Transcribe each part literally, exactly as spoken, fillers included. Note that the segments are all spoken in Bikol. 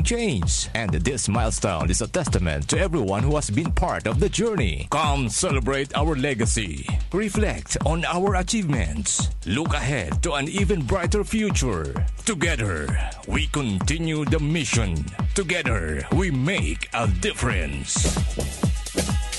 change. And this milestone is a testament to everyone who has been part of the journey. Come celebrate our legacy. Reflect on our achievements. Look ahead to an even brighter future. Together, we continue the mission. Together, we make a difference.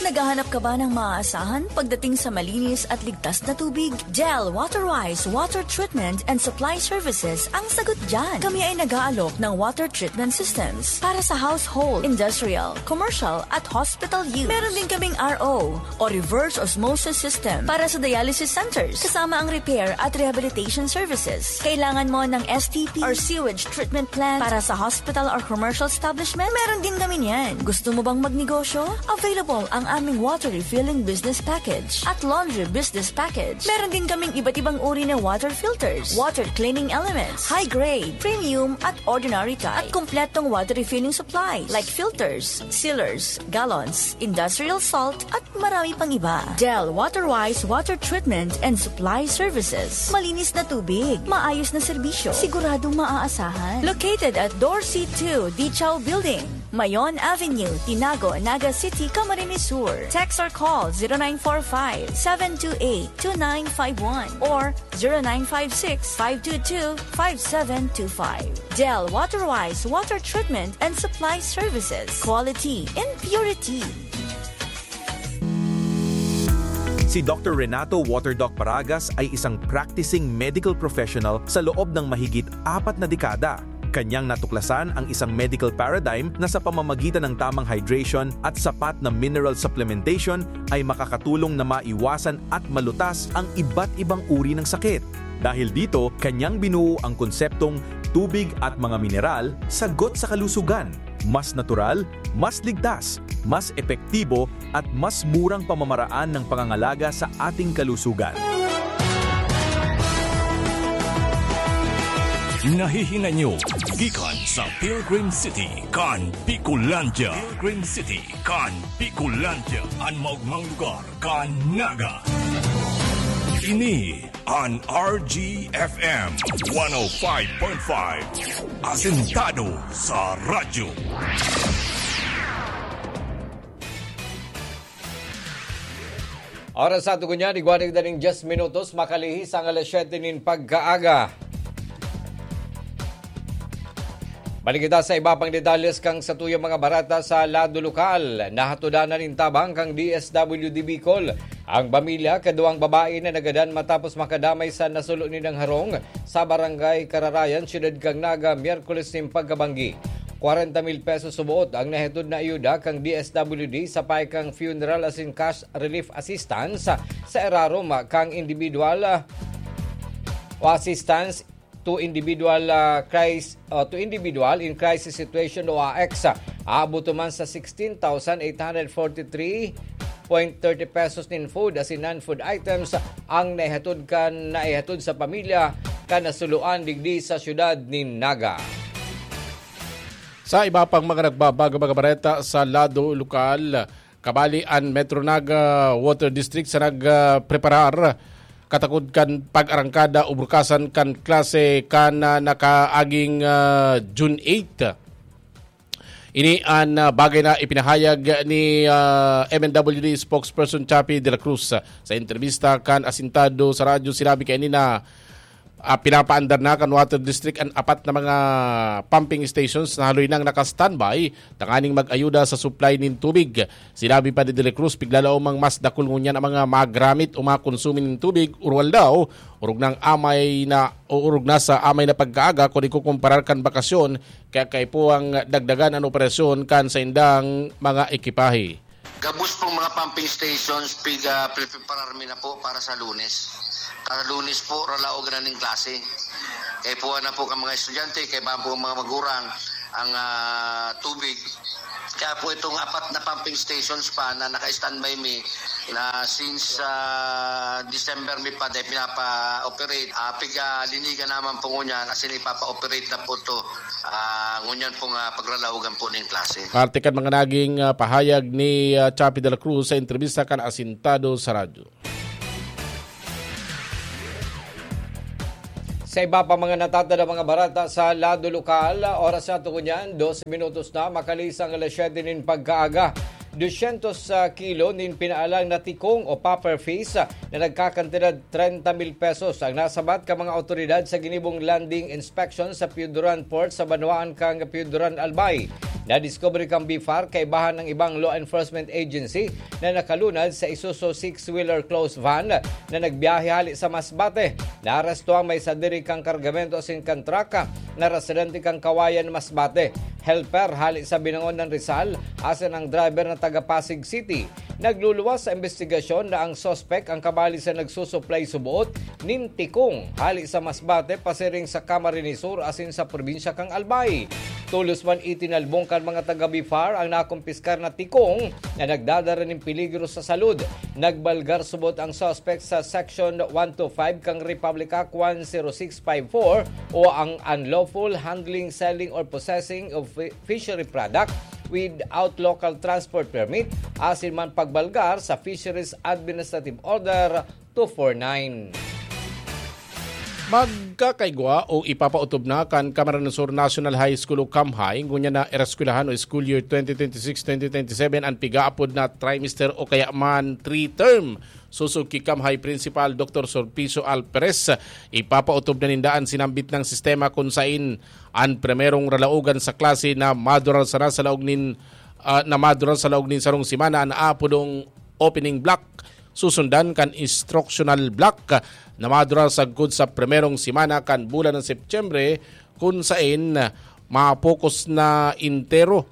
Naghahanap ka ba ng maaasahan pagdating sa malinis at ligtas na tubig? Del Waterwise Water Treatment and Supply Services ang sagot dyan. Kami ay nag-aalok ng water treatment systems para sa household, industrial, commercial at hospital use. Meron din kaming R O o reverse osmosis system para sa dialysis centers, kasama ang repair at rehabilitation services. Kailangan mo ng S T P or sewage treatment plant para sa hospital or commercial establishment? Meron din kami niyan. Gusto mo bang magnegosyo? Available ang aming water refilling business package at laundry business package. Meron din kaming iba't ibang uri ng water filters, water cleaning elements, high grade, premium at ordinary type, at kompletong water refilling supplies like filters, sealers, gallons, industrial salt, at marami pang iba. Del Waterwise Water Treatment and Supply Services. Malinis na tubig, maayos na serbisyo, siguradong maaasahan. Located at Dorsey two, Dichaw Building, Mayon Avenue, Tinago, Naga City, Camarines Sur. Text or call zero nine four five, seven two eight, two nine five one or zero nine five six, five two two, five seven two five. Del Waterwise Water Treatment and Supply Services. Quality and purity. Si Doctor Renato Water Doc Paragas ay isang practicing medical professional sa loob ng mahigit apat na dekada. Kanyang natuklasan ang isang medical paradigm na sa pamamagitan ng tamang hydration at sapat na mineral supplementation ay makakatulong na maiwasan at malutas ang iba't ibang uri ng sakit. Dahil dito, kanyang binuo ang konseptong tubig at mga mineral, sagot sa kalusugan. Mas natural, mas ligtas, mas epektibo, at mas murang pamamaraan ng pangangalaga sa ating kalusugan. Nahihinanyo gikan sa Pilgrim City kan Bicolandia. Pilgrim City kan Bicolandia, an maogmang lugar kan Naga. Ini an R G F M one oh five point five, asentado sa radyo. Oras sa ato ngunyan, igwa na ning dyes minutos, makalihis ang alas siyete nin pagkaaga. Balik kita sa iba pang detalles kan satuyang mga bareta sa lado lokal. Nahatodan na nin tabang kan D S W D Bicol ang pamilya kaduwang babae na nagadan matapos makadamay sa nasulo nindang harong sa Barangay Kararayan, Siyudad kan Naga, Miyerkules nin pagkabanggi. Kwarenta mil pesos suboot ang nahihatod na ayuda kan D S W D sa payo kan funeral asin cash relief assistance sa irarom kan individual, ah, o assistance to individual, ah, cris-, ah, to individual in crisis situation o A X. Aabot man sa sixteen thousand eight hundred forty-three point thirty pesos nin food asin non-food items ang naihatod kan, naihatod sa pamilya kan nasuluan digdi sa siyudad nin Naga. Sa iba pang mga nagbabago mga bareta sa lado lokal, kabali an Metro Naga Water District sa nagpreparar katakod kan pag-arangkada o bukasan kan klase kan, ah, nakaaging, ah, June eight. Ini an, ah, bagay na ipinahayag ni, ah, M N W D spokesperson Chappie de la Cruz. Sa entrebista kan Asintado sa radyo, sinabi kaini na, ah, pinapaandar na kan Water District an apat na mga pumping stations na haloy nang naka-standby tanganing mag-ayuda sa supply nin tubig. Sinabi pa ni De La Cruz, piglalawomang mas dakul ngunyan ang mga magramit o makonsumo nin tubig, uruwal daw, orog nang amay na o orog na sa amay na pagkaaga kun ikukumparar kan bakasyon, kaya kaipuhang dagdagan an operasyon kan saindang mga ekipahe. Gabos pong mga pumping stations, piga preparar mi na po para sa Lunes. Kada Lunes po, ralaog na ning klase. Kaipuhan na po kan mga estudyante, kaipuhan po ang mga magurang ang, ah, tubig. Kaya po itong apat na pumping stations pa na naka-standby mi na since, ah, December mi pa dahil pinapa-operate. Ah, piga linigan naman po ngunyan, asin ipapa-operate na po to. Ah, ngunyan po nga pagralaogan po ning klase. Parte kan mga naging, ah, pahayag ni, ah, Chappie de la Cruz sa entrebista kan Asintado sa Radyo. Sa iba pa mga natatanda mga barata sa lado lokal, oras na to ngunyan, dose minutos na, makalisang alas siyete nin pagkaaga. Dusyentos sa kilo nin pinaalang na tikong o puffer fish na nagkakantidad trenta mil pesos ang nasabat ka mga awtoridad sa ginibong landing inspection sa Pioduran Port sa banwaan kang Pioduran, Albay. Nadiskubre kang BFAR kaibahan ng ibang law enforcement agency na nakalunad sa Isuzu six-wheeler closed van na nagbiyahe hali sa Masbate. Naaresto ang may sadiri kang kargamento asin kan truck na residente kang Kawayan, Masbate. Helper hali sa Binangon ng Rizal, asin ang driver na taga Pasig City. Nagluluwas sa investigasyon na ang suspek ang kabali sa nagsusuplay suboot nin tikong hali sa Masbate pasiring sa Camarines Sur asin sa probinsya kan Albay. Tolos man itinalbong kan mga taga BFAR ang nakumpiskar na tikong na nagdadara nin peligro sa salud. Nagbalgar subot ang suspek sa Section one two five kan Republic Act one zero six five four o ang unlawful handling, selling or possessing of fi-, fishery product without local transport permit asin man pagbalgar sa Fisheries Administrative Order two four nine. Magkakaigwa o ipapaotob na kan Camarines Sur National High School o CAMHI, ngunyan na ereskwelahan o school year twenty twenty-six twenty twenty-seven, an pigaapod na trimester o kaya man three-term. Susog ki CAMHI Principal Doctor Sulpicio Alperes, ipapaotob na ninda an sinambit nang sistema kun sain an primerong ralaogan sa klase na madurar sana sa laog nin, ah, na madurar sa laog nin sarong semana an aapodong opening block. Susundan kan instructional block na madurar sagkod sa primerong semana kan bulan ng Setyembre, kun sain mapokus na entero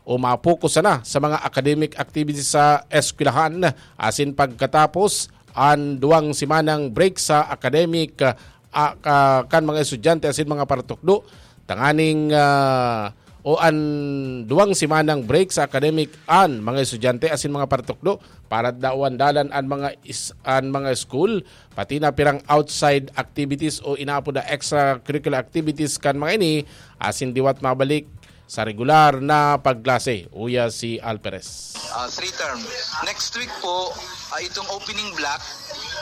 o mapokus sana sa mga academic activities sa eskwelahan, asin pagkatapos an duwang semanang break sa academic, ah, ka-, kan mga estudyante asin mga paratukdo, tanganing, ah, o an duwang semanang break sa academic an mga estudyante asin mga paratukdo para dawan dalan an mga is-, an mga school, pati na pirang outside activities o inaapod na extracurricular activities kan mga ini, asin liwat mabalik sa regular na pagklase, uya si Alperes. Ah, three term. Next week po, ah, itong opening block,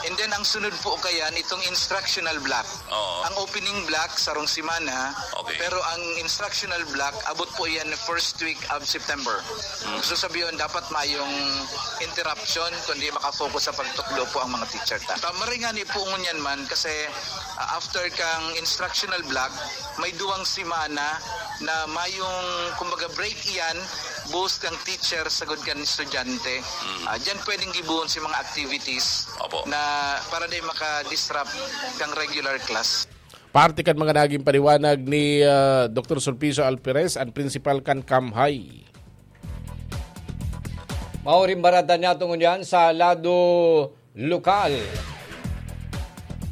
and then ang sunod po kayan, itong instructional block. Oo. Ang opening block, sarong semana, Okay. pero ang instructional block, abot po yan first week of September. Mm. So sabi yun, dapat mayong interruption, kundi makafocus sa pagtukdo po ang mga teacher ta. Tama rin nga ni po ngunyan man, kasi, ah, after kang instructional block, may duwang semana na mayong, kumbaga, break iyan, both kang teacher sagud kan estudyante. Mm. Ah, diyan pwedeng gibuhon si mga activities Opo. na para di maka-disrupt kang regular class. Parte kan mga naging paliwanag ni, ah, Doktor Sulpicio Alperes, ang principal kan CAMHI. Maoring baratan niya tungon yan sa lado lokal.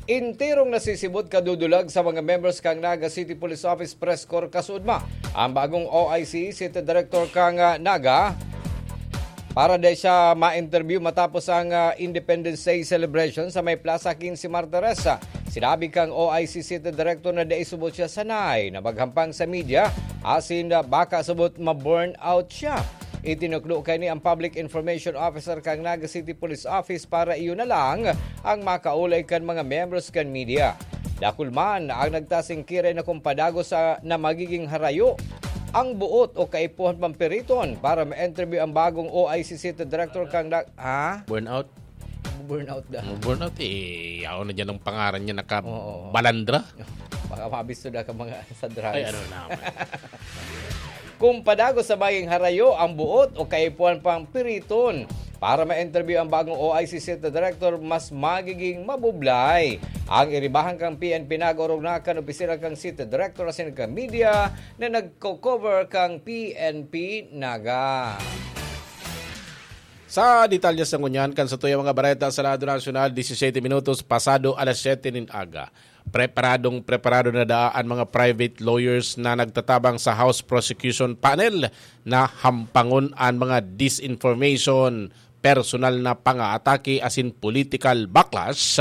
Enterong nasisibot kadudulag sa mga members kan Naga City Police Office Press Corps kasuodma ang bagong O I C City Director kan, ah, Naga para di siya ma-interview matapos ang, ah, Independence Day celebration sa may Plaza Quince Martires. Sinabi kang O I C City Director na dai subot siya sanay na maghampang sa media asin, ah, baka subot ma-burn out siya. Itinukdo kaini ang Public Information Officer kan Naga City Police Office para iyo na lang ang makaulay kan mga members kan media. Dakul man ang nagtasingkiray na kung padagos sa na magiging harayo ang buot o kaipuhan pampiriton para ma-interview ang bagong O I C City Director kan Nag-, ha? Burnout? Burnout daw. Burnout eh. Yaon na dyan ang pangaran niya, Oo. nakabalandra. Baka mabisto na ka mga sa drugs. Ay, ano naman. Kung padagos sa maging harayo ang buot o kaipuhan pang piriton para ma-interview ang bagong O I C City Director, mas magiging mabublay ang iribahan kang P N P Naga orog na kan opisina kang City Director asin kan media na nagko-cover kang P N P Naga. Sa detalye sa ngunyan, kan sa tuyang mga bareta sa lado nasyonal, disisiyete minutos pasado alas siyete nin aga. Preparadong preparado na daa an mga private lawyers na nagtatabang sa House Prosecution Panel na hampangon an mga disinformation, personal na pangaatake asin political backlash,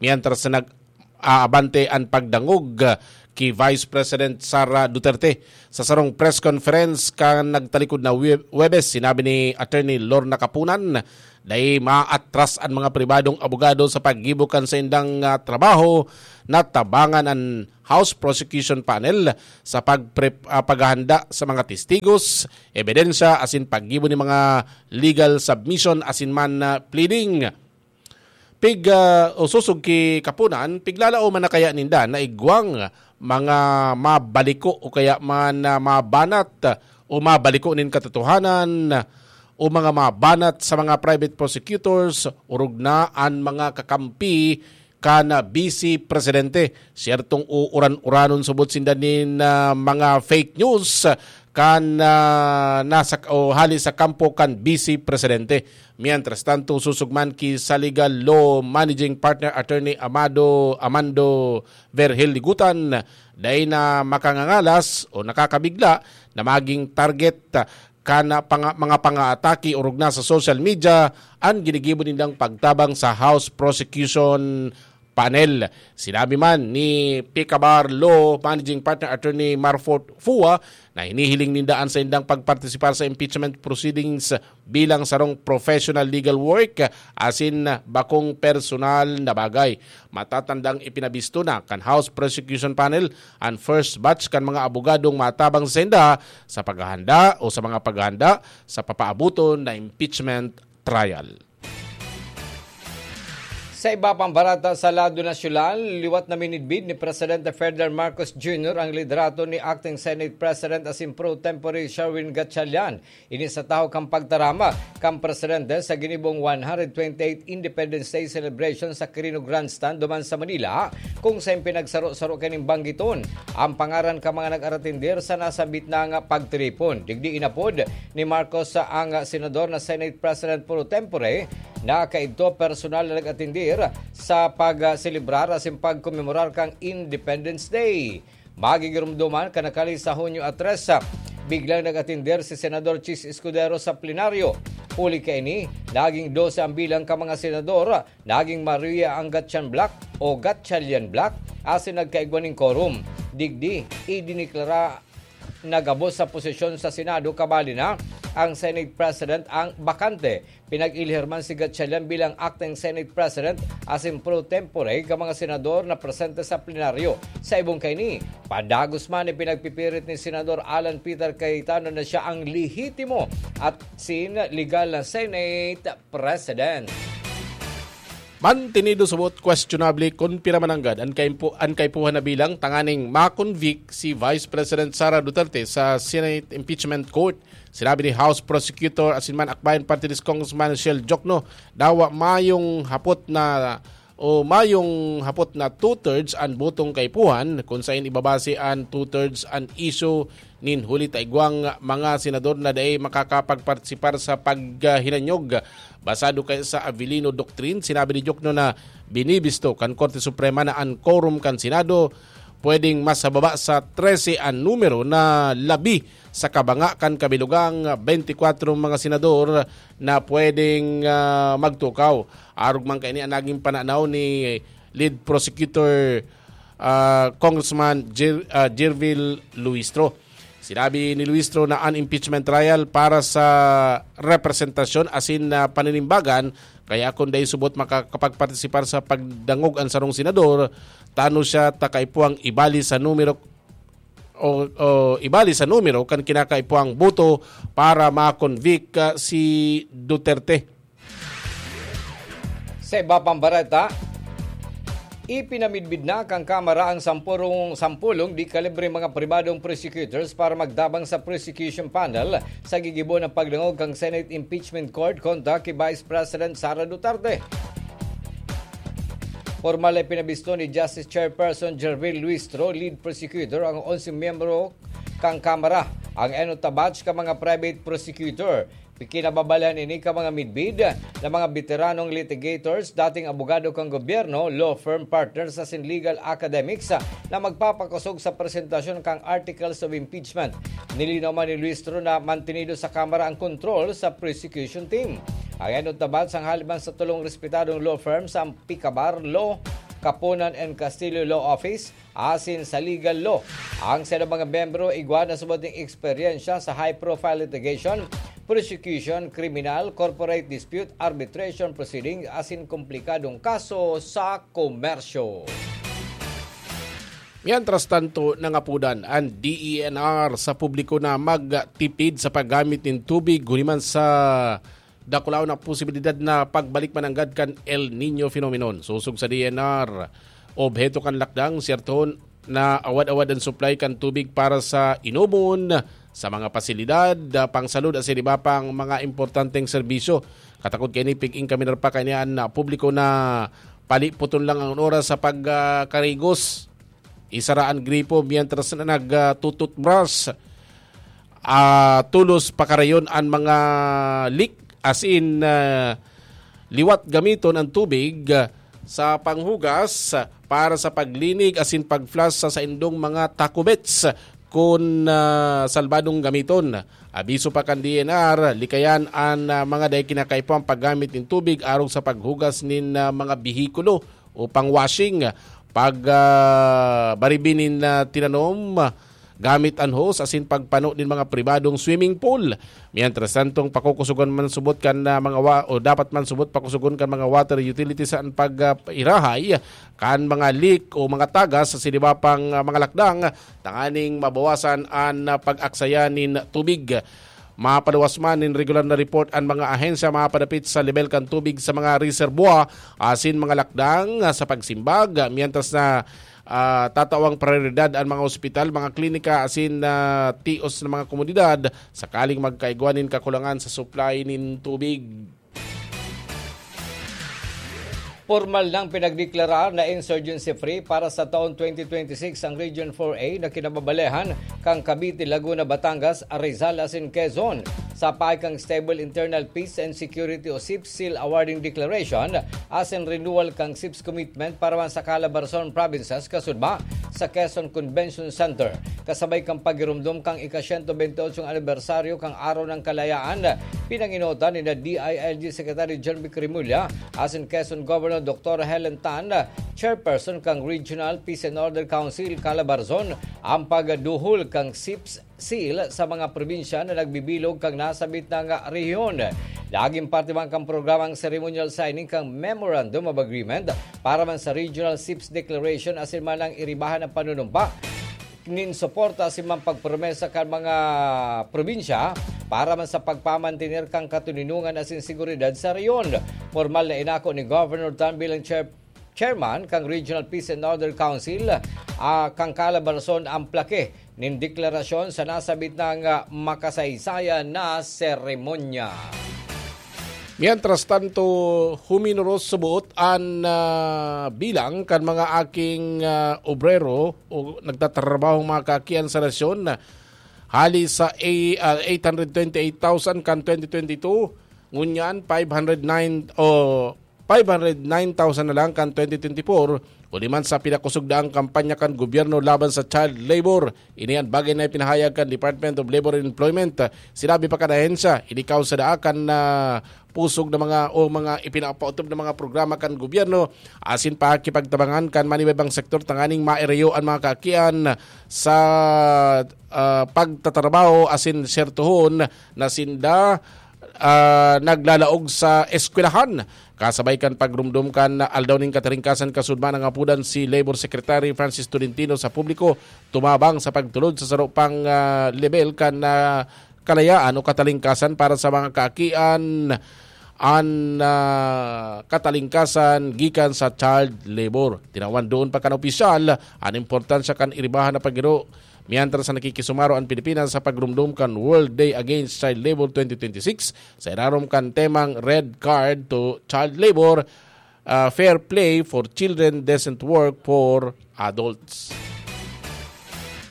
mientras na nag-aabante an pagdangog ki Vice President Sara Duterte. Sa sarong press conference kan nagtalikod na Hue-, Huwebes, sinabi ni Attorney Lorna Kapunan Dai maatras an mga pribadong abogado sa paggibo kan saindang, ah, trabaho na tabangan an House Prosecution Panel sa pagpre-, ah, paghahanda sa mga testigos, ebidensya, asin paggibo ni mga legal submission asin man, ah, pleading. Pig, ah, o susog ki kapunan, piglalao man na kaya ninda na igwang mga mabaliko o kaya man, ah, mabanat o mabaliko nin katotohanan o mga mabanat sa mga private prosecutors, orog na an mga kakampi kan Vice Presidente. Siyertong uuran-uranon subot sinda nin, ah, mga fake news kan, ah, nasa o hali sa kampo kan Vice Presidente. Mientras tanto, susog man ki sa Legal Law Managing Partner Attorney Amado, Amando Vergel Ligutan, dai na makangangalas o nakakabigla na maging target kan panga-, mga pangaatake orog na sa social media an ginigibo nindang pagtabang sa House Prosecution Panel. Sinabi man ni Picabar Law Managing Partner Attorney Marfort Fua na hinihiling ninda an saindang pagpartisipar sa impeachment proceedings bilang sarong professional legal work asin bakong personal na bagay. Matatandang ipinabisto na kan House Prosecution Panel an first batch kan mga abogadong matabang sa sainda sa paghahanda o sa mga paghahanda sa papaaboton na impeachment trial. Sa iba pang barata sa lado nasyonal, liwat na minidbid ni Presidente Ferdinand Marcos Junior ang liderato ni Acting Senate President asin pro tempore Sherwin Gatchalian. Ini sa tahaw kan pagtarama kan presidente sa ginibong one hundred twenty-eight Independence Day celebration sa Quirino Grandstand duman sa Manila, kung saen pinagsaro-saro kaining banggiton ang pangaran kan mga nag-aratindir sa nasambit na nga pagtiripon. Digdi inapod ni Marcos ang senador na Senate President pro tempore na kaidto personal na nag-atindir sa pagselebrar asin pagkomemorar kan Independence Day. Magigiromdoman kan nakali sa Hunyo a tres, biglang nag-atindir si Senador Chiz Escudero sa plenaryo. Huli kaini, naging dose ang bilang kan mga senador, naging Maria ang Gatchan Black o Gatchalian Black asin nagkaigwa nin quorum. Digdi, idineklara na gabos sa posisyon sa Senado, kabali na ang Senate President ang bakante. Pinag-ilihir man si Gatchalian bilang acting Senate President asin pro tempore kan mga senador na presente sa plenaryo. Sa ibong kaini, padagos man ipinagpipirit ni Senador Alan Peter Cayetano na siya ang lehitimo asin legal na Senate President. Mantenido subot questionable kun pira man nanggad an kaimpo-, an kaipuhan na bilang tanganing ma-convict si Vice President Sara Duterte sa Senate Impeachment Court. Sinabi ni House Prosecutor asin man Akbayan Party List Congressman Shell Jokno, dawa mayong hapot na o mayong hapot na two-thirds an botong kaipuhan, kun saen ibabase an two-thirds an isyu nin huli ta igwang mga senador na dai makakapagpartisipar sa paghinanyog. Basado kaya sa Avellino Doctrine, sinabi ni Jokno na binibisto kan Korte Suprema na an quorum kan Senado pwedeng mas hababa sa trese an numero na labi sa kabanga kan kabilugang twenty-four mga senador na pwedeng, ah, magtukaw. Arog man kaini an naging pananaw ni Lead Prosecutor, ah, Congressman Jer-, ah, Jervil Luistro. Sinabi ni Luistro na an impeachment trial para sa representasyon asin na paninimbagan, kaya kun dai subot makakapagpartisipar sa pagdangog an sarong senador, tano siya ta kaipuhang ibali sa numero o, o ibali sa numero kan kinakaipuhang boto para ma-convict, ah, si Duterte. Sa iba pang bareta, ipinamidbid na kan Kamara ang sampurong, sampulong di kalibre mga pribadong prosecutors para magtabang sa prosecution panel sa gigibo na pagdangog kan Senate Impeachment Court kontra ki Vice President Sara Duterte. Pormal na ipinabisto ni Justice Chairperson Jervil Luistro, lead prosecutor, ang onse miyembro kan Kamara. Ang enot na batch ka mga private prosecutor, kinababalahan ini ka mga midbid na mga beteranong litigators, dating abogado kan gobyerno, law firm partners asin legal academics na magpapakosog sa presentasyon kan articles of impeachment. Nilinaw man ni Luistro na mantenido sa Kamara ang kontrol sa prosecution team. Ang enot na batch ang haliban sa tulong respetadong law firm sa Picabar Law, Kapunan and Castillo Law Office, asin sa legal law. Ang saindang mga miyembro igwa na subot nin eksperyensya sa high-profile litigation, prosecution, kriminal, corporate dispute, arbitration proceedings asin komplikadong kaso sa komersyo. Mientras tanto, nangapudan an D E N R sa publiko na magtipid sa paggamit nin tubig huli man sa dakulaon na posibilidad na pagbalik mananggad kan El Niño phenomenon. Sosog sa D E N R, obheto kan lakdang, siyertohon na awad-awad an supply kan tubig para sa inomon, sa mga pasilidad, ah, pangsalud asin iba pang mga importanteng serbisyo. Katakod kaini, pig-in kami narpa kaini an, ah, publiko na palipoton lang an oras sa pag, ah, karigos. Isara an gripo mientras na nag, ah, tututbras. Ah, tolos pakarayon an mga leak, as in, ah, liwat gamiton an tubig, ah, sa panghugas, ah, para sa paglinig asin pag-flush sa saindong mga takubets kun, ah, salbadong gamiton. Abiso pa kan D N R, likayan an, ah, mga dai kinakaipo ang paggamit nin tubig arog sa paghugas nin, ah, mga behikulo o pang-washing, pag, ah, baribi nin, ah, tinanom, gamit an hose asin pagpano nin mga pribadong swimming pool. Mientras tantong, pakukusogon man subot kan, ah, mga wa-, o dapat man subot pakusogon kan mga water utilities an pag, ah, irahay kan mga leak o mga tagas sa siniba pang, ah, mga lakdang tanganing mabawasan an, ah, pag-aksaya nin tubig. Mapaluwas man nin regular na report an mga ahensya mapadapit sa lebel kan tubig sa mga reservoir asin mga lakdang, ah, sa pagsimbag, ah, mientras na, ah, tatawang prioridad an mga ospital, mga klinika asin, ah, tios na mga komunidad sakaling magkaigwa nin kakulangan sa supply nin tubig. Pormal nang pinagdeklarar na insurgency-free para sa taon twenty twenty-six ang Region four A na kinababalehan kan Cavite, Laguna, Batangas, Rizal asin Quezon. Sa pahay kan Stable Internal Peace and Security o SIPS Seal Awarding Declaration asin renewal kan SIPS Commitment para man sa Calabarzon Provinces kasudma sa Quezon Convention Center. Kasabay kan paghiromdom kan ika-siyento bentiotsong anibersaryo kan Araw ng Kalayaan, pinangenotan ni D I L G Secretary John Vic Remulla asin Quezon Governor Doctor Helen Tan, chairperson kan Regional Peace and Order Council Calabarzon, ang pagduhol kan SIPS Seal sa mga probinsya na nagbibilog kan nasabit na nga rehiyon. Nagin parte man kan programa ang ceremonial signing kan Memorandum of Agreement para man sa Regional SIPS Declaration asin man ang iribahan na panunumpa nin suporta asin man pagpromesa kan mga probinsya para man sa pagpamantener kan katoninongan asin seguridad sa rehiyon. Pormal na inako ni Governor Tan bilang chair-, chairman kan Regional Peace and Order Council, ah, kan Calabarzon ang plake nin deklarasyon sa nasabit na nga makasaysayan na seremonya. Mientras tanto, huminuros subot an, ah, bilang kan mga aking, ah, obrero o nagtatrabahong mga kaakian sa nasyon, hali sa a-, ah, eight hundred twenty-eight thousand kan twenty twenty-two, ngunyan five hundred nine o five hundred nine thousand na lang kan twenty twenty-four, huli man sa pinakosog na ang kampanya kan gobyerno laban sa child labor. Ini an bagay na ipinahayag kan Department of Labor and Employment. Sinabi pa kan ahensya, ini kausada kan, ah, pusog na mga o mga ipinapaotob na mga programa kan gobyerno asin pakikipagtabangan kan manibabang sektor tanganing mairayo an mga kaakian sa, ah, pagtatrabaho asin sertohon na sinda, ah, naglalaog sa eskwelahan. Kasabay kan pagrumdom kan Aldaw nin Katalingkasan kasudma, nangapudan si Labor Secretary Francis Tolentino sa publiko tumabang sa pagtulod sa saro pang, ah, lebel kan, ah, kalayaan o katalingkasan para sa mga kaakian an, ah, katalingkasan gikan sa child labor. Tinawan doon pa kan opisyal an importansya kan iribahan na pagiro, mientras na nakikisumaro an Pilipinas sa pagrumdom kan World Day Against Child Labor twenty twenty-six sa irarom kan temang Red Card to Child Labor, ah, Fair Play for Children, Decent Work for Adults.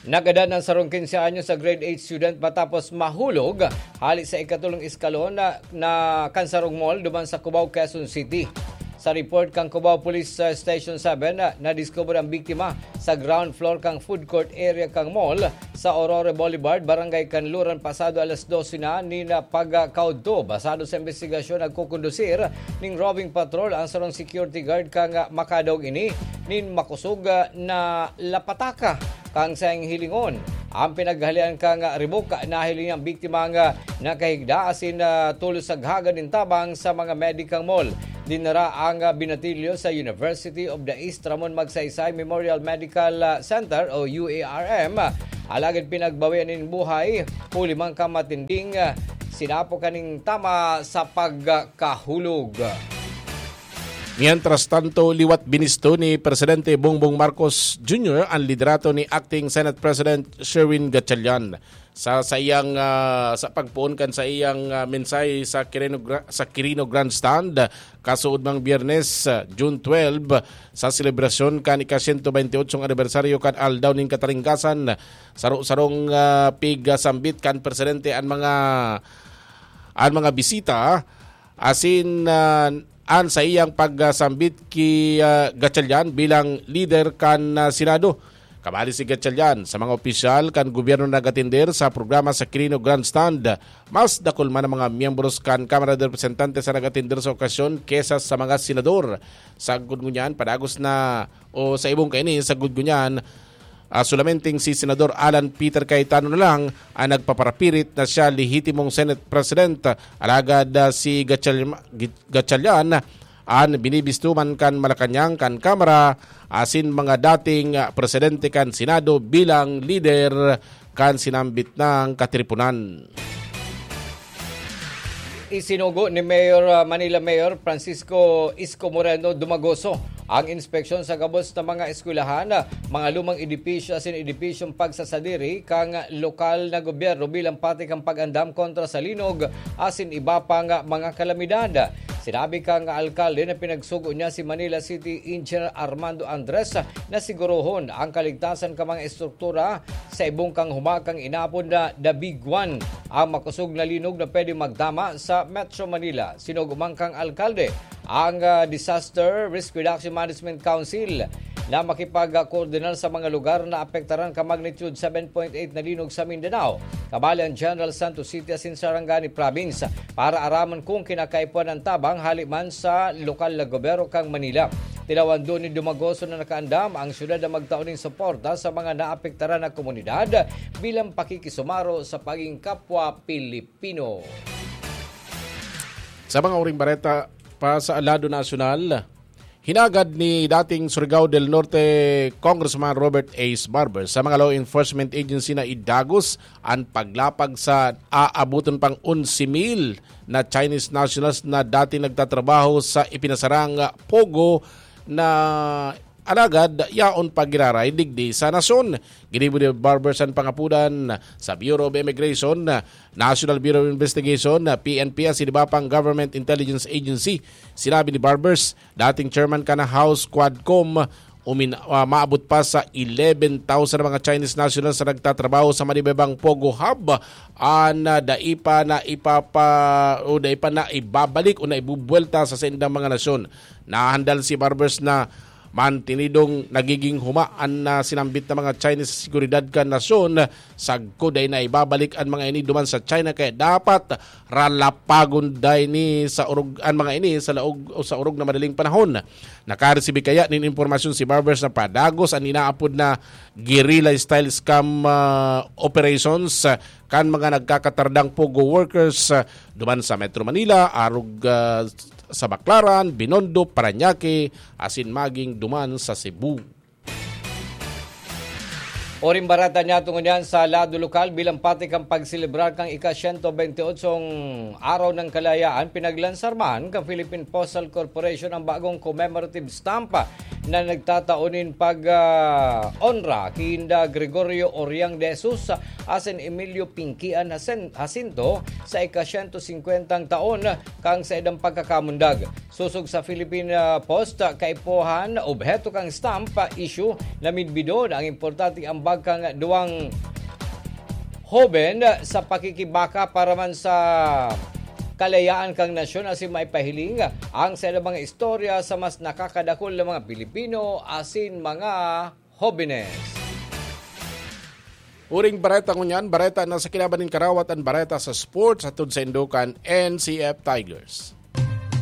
Nagadan ang sarong quince anyos sa grade eight student matapos mahulog hali sa ikatulong eskalon na, na kan sarong mall duman sa Cubao, Quezon City. Sa report kan Cubao Police, uh, Station seven, uh, nadiskubre ang biktima sa ground floor kan food court area kan mall sa Aurora Boulevard, Barangay Kanluran, pasado alas dose na nin pagkaudto. Basado sa imbestigasyon, nagkukondusir ning roving patrol ang sarong security guard kan makadangog ini nin makosog na lapataka kan saiyang hilingon. Ang pinaghalean kan ribok, nahiling ang biktima nga nakahigda asin, ah, tulos sa haga nin tabang sa mga medical mall. Dinara ang, ah, binatilyo sa University of the East Ramon Magsaysay Memorial Medical, ah, Center o U A R M. Alagad pinagbawian nin buhay, huli man kan matinding, ah, sinapo kaning tama sa pagkahulog. Mientras tanto, liwat binisto ni Presidente Bongbong Marcos Junior ang liderato ni Acting Senate President Sherwin Gatchalian. Sa, sa iyang, ah, sa pagpoon kan sa iyang, ah, mensahe sa Quirino Gra-, sa Quirino Grandstand, kasuodmang Biyernes, ah, June twelve, sa selebrasyon kan ika-sento bente otsong anibersaryo kan Aldaw nin Katalingkasan, saro-sarong, ah, pigasambit kan presidente an mga, an mga bisita, asin, ah, an saiyang pagsambit ki, ah, Gatchalian bilang lider kan, ah, Senado. Kabali si Gatchalian sa mga opisyal kan gobyerno na nag-atender sa programa sa Quirino Grandstand. Mas dakul man ang mga miyembros kan Kamara de Representantes na nag-atender sa okasyon kesa sa mga senador. Sagkod ngunyan, padagos na o sa ibong kaini, sagkod ngunyan, ah, solamenteng si Senador Alan Peter Cayetano na lang ang nagpaparapirit na siya lehitimong Senate President. Alagad, ah, si Gatchal-, Gatchalian an binibisto man kan Malacañang, kan Kamara, asin mga dating, ah, presidente kan Senado bilang lider kan sinambit nang katiriponan. Isinugo ni Mayor, ah, Manila Mayor Francisco Isko Moreno Dumagoso ang inspeksyon sa gabos na mga eskwelahan, ah, mga lumang edipisyo asin edipisyong pagsasadiri kan lokal na gobyerno bilang parte kan pag-andam kontra sa linog asin iba pang mga kalamidad. Sinabi kan alkalde na pinagsugo niya si Manila City Engineer Armando Andres na sigurohon ang kaligtasan kan mga estruktura sa ibong kan humakang inapod na The Big One, ang makosog na linog na pwede magtama sa Metro Manila. Sinugo man kan alkalde ang, ah, Disaster Risk Reduction Management Council na makipagkoordinar sa mga lugar na apektaran kan magnitude seven point eight na linog sa Mindanao, kabali ang General Santos City asin Sarangani Province, para aramon kung kinakaipuhan an tabang hali man sa lokal na gobyerno kan Manila. Tinawando ni Dumagoso na nakaandam ang syudad na magtao nin suporta sa mga naapektaran na komunidad bilang pakikisumaro sa paging kapwa Pilipino. Sa mga uring bareta pa sa lado nasyonal, hinagad ni dating Surigao del Norte Congressman Robert Ace Barber sa mga law enforcement agency na idagos an paglapag sa aaboton pang onse mil na Chinese nationals na dating nagtatrabaho sa ipinasarang POGO na alagad yaon pa giraray digdi sa nasyon. Ginibo ni Barber an pangapodan sa Bureau of Immigration, National Bureau of Investigation, P N P, asin iba pang government intelligence agency. Sinabi ni Barbers, dating chairman kan House Quadcom, umin-, ah, maabot pa sa eleven thousand na mga Chinese nationals na nagtatrabaho sa manibebang POGO Hub, an, ah, dai pa na ipapa-, o dai pa na ibabalik o na ibubuwelta sa saindang mga nasyon. Nahandal si Barbers na mantinidong nagiging huma an, ah, sinambit na mga Chinese sa seguridad kan nasyon. Sagkod dai na ibabalik an mga ini duman sa China, kaya dapat ralapagon dai ni sa orog, an mga ini sa laog o sa orog na madaling panahon. Nakaresibi kaya nin impormasyon si Barbers na padagos an inaapod na guerrilla style scam, ah, operations, ah, kan mga nagkakatardang POGO workers, ah, duman sa Metro Manila, arog, ah, sa Baclaran, Binondo, Parañaque, asin maging duman sa Cebu. Uring bareta niya tungod yan sa lado lokal, bilang parte kan pagselebrar kan ika-siyento bente otsong Araw ng Kalayaan, pinaglansar man kan Philippine Postal Corporation ang bagong commemorative stamp na nagtatao nin pag, ah, onra kinda Gregorio Oriang de Jesus asin Emilio Pinkian Jacinto sa ika-siyento singkwentang taon kan saindang pagkakamundag. Sosog sa Philippine, ah, Post, ah, kaipuhan, obheto kan stamp, ah, issue na midbidon ang importanteng ambag kan duwang hoben, ah, sa pakikibaka para man sa kalayaan kan nasyon asin maipahiling ang saindang mga istorya sa mas nakakadakul na mga Pilipino asin mga hobenes. Uring bareta ngunyan, bareta na sa kinaban nin karawat an bareta sa sports, hatod saindo kan N C F Tigers.